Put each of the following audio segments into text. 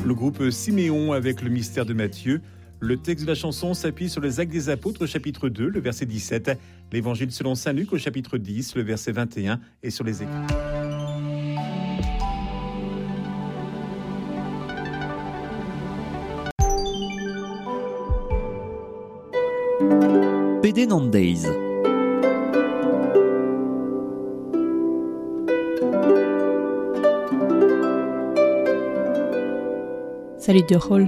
Le groupe Siméon avec le mystère de Matthieu. Le texte de la chanson s'appuie sur les Actes des Apôtres au chapitre 2, le verset 17, l'Évangile selon saint Luc au chapitre 10, le verset 21 et sur les Écritures. Pedenn an deiz. Salud deoc'h holl.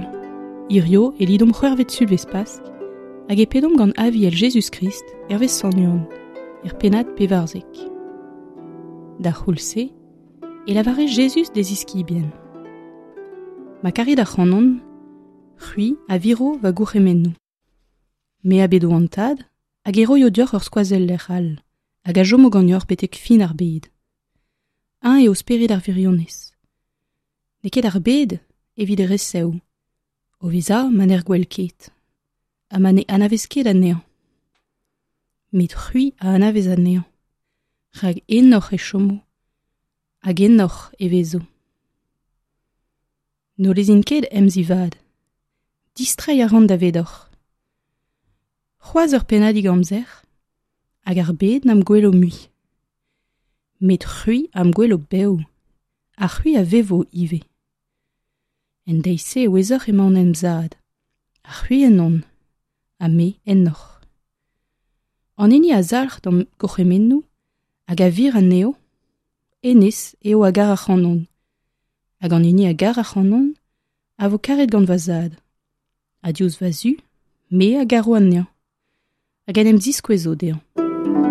Hirio e lidomp c'hwec'hvet sulvezh Pask hag e pedomp gant Aviel Jezuz-Krist hervez Sant Yann, er pennad 14. D'ar c'houlz-se e lavare Jezuz d'e ziskibien: Ma karit ac'hanon, c'hwi a viro va gourc'hemennoù. Me a bedo an Tad hag e roio deoc'h ur skoazeller all hag a chomo ganeoc'h betek fin ar bed. Eñ eo spered ar wirionez. N'eo ket ar bed evit e resev, o vezañ ma n'er gwel ket, ha ma ne anavez ket anezhañ. Met c'hwi a anavez anezhañ, rak ennoc'h e chomo, hag ennoc'h e vezo. N'ho lezin ket emzivad. Distreiñ a ran davedoc'h. C'hoazh ur pennadig amzer, hag ar bed n'am gwelo mui. Met c'hwi am gwelo bev, ha c'hwi a vevo ivez. En deiz-se e ouezoc'h emaon em zad, ha c'hwi ennon, ha me ennoc'h. An hini a zalc'h d'am gourc'hemennoù hag a vir anezho, hennezh eo a gar ac'hanon. Hag an hini a gar ac'hanon a vo karet gant va zad. Ha diouzh va zu, me a garo anezhañ, hag en em ziskouezo dezhañ.